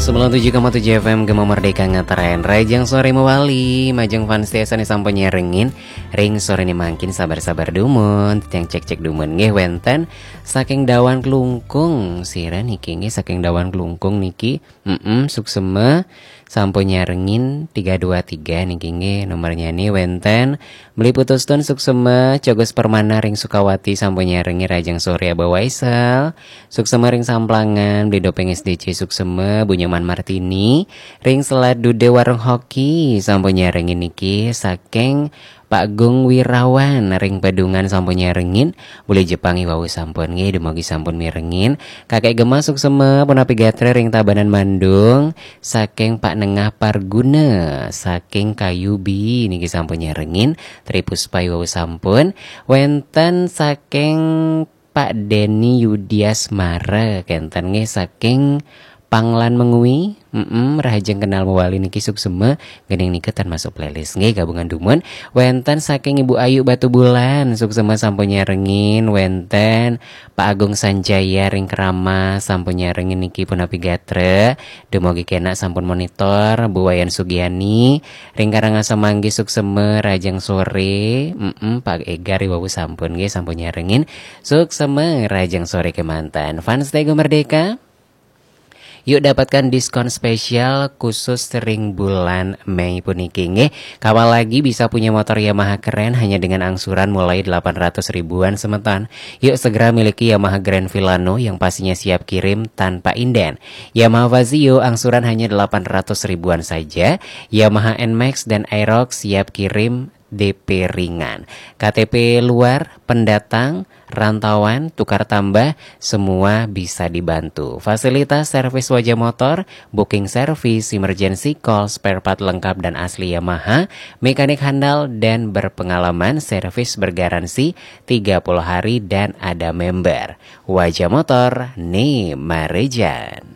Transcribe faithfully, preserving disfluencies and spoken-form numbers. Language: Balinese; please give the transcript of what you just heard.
Sembilan tujuh koma tujuh F M Gema Merdeka ngetren. Rajang sore mewali, majeng fans tiasa ni sampun nyarengin. Ring sore ni mangkin sabar-sabar dumun, titiang cek-cek dumun nggih wenten saking Dawan Klungkung. Sira niki nggih saking Dawan Klungkung niki. Mm-mm, suksema sampun nyarengin tiga dua tiga niki nggih nomornya ni wenten. Beli Putustun suksema, Cogos Permana ring Sukawati sampun nyarengin rajang sore Abah Waisal. Suksema ring Samplangan, Beli Dopeng S D C suksema, Bu Nyoman Martini. Ring Selat Dude Warung Hoki sampun nyarengin niki saking Pak Gung Wirawan ring Pedungan sampun nyarengin, Beli Jepang i wau sampun nggih, dumugi sampun mirengin. Kakek Gema suksema, punapi gatra ring Tabanan Mandung, saking Pak Nengah Parguna, saking Kayubi niki sampun nyarengin, Tri Puspa i wau sampun, wenten saking Pak Denny Yudiasmara kenten nggih saking Panglan Mengwi. Mm-mm, rahajeng kenal mewali niki suksema, gening nika tan masuk playlist nggih gabungan dumun. Wenten saking Ibu Ayu Batubulan, suksema sampun nyarengin, wenten Pak Agung Sanjaya ring Keramas sampun nyarengin niki punapi gatra. Dumugi kenak sampun monitor, Bu Wayan Sugiani ring Karangasem Manggis suksema, rajang sore. Mm-mm, Pak Egar i wau sampun nggih sampun nyarengin. Suksema rajang sore kemanten. Fans Tego Merdeka, yuk dapatkan diskon spesial khusus ring bulan Mei puniki nggih. Kapan lagi bisa punya motor Yamaha keren hanya dengan angsuran mulai delapan ratus ribuan semeton. Yuk segera miliki Yamaha Grand Filano yang pastinya siap kirim tanpa inden. Yamaha Fazzio angsuran hanya delapan ratus ribuan saja. Yamaha Nmax dan Aerox siap kirim D P ringan. K T P luar, pendatang, rantauan, tukar tambah, semua bisa dibantu. Fasilitas servis wajah motor, booking service, emergency call, spare part lengkap dan asli Yamaha, mekanik handal dan berpengalaman, servis bergaransi tiga puluh hari dan ada member. Wajah motor, ni marejan.